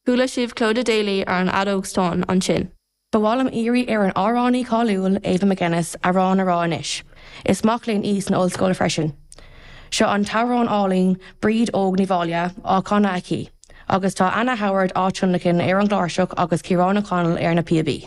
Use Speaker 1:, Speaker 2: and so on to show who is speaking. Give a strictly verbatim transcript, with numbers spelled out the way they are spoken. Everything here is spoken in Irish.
Speaker 1: Chuala sibh Clodagh Daly ar an fheadóg stáin ansin.
Speaker 2: Ba mhaith liom iarraidh ar an amhránaí cáiliúil Ava McGuinness amhrán a rá anois. Is mac léinn í san ollscoil freisin. Seo an t-amhrán álainn Bríd Óg Ní Mháille á chanadh aici, agus tá Anna Howard á tionlacan ar an gcláirseach agus Ciarán O'Connell ar na píobaí.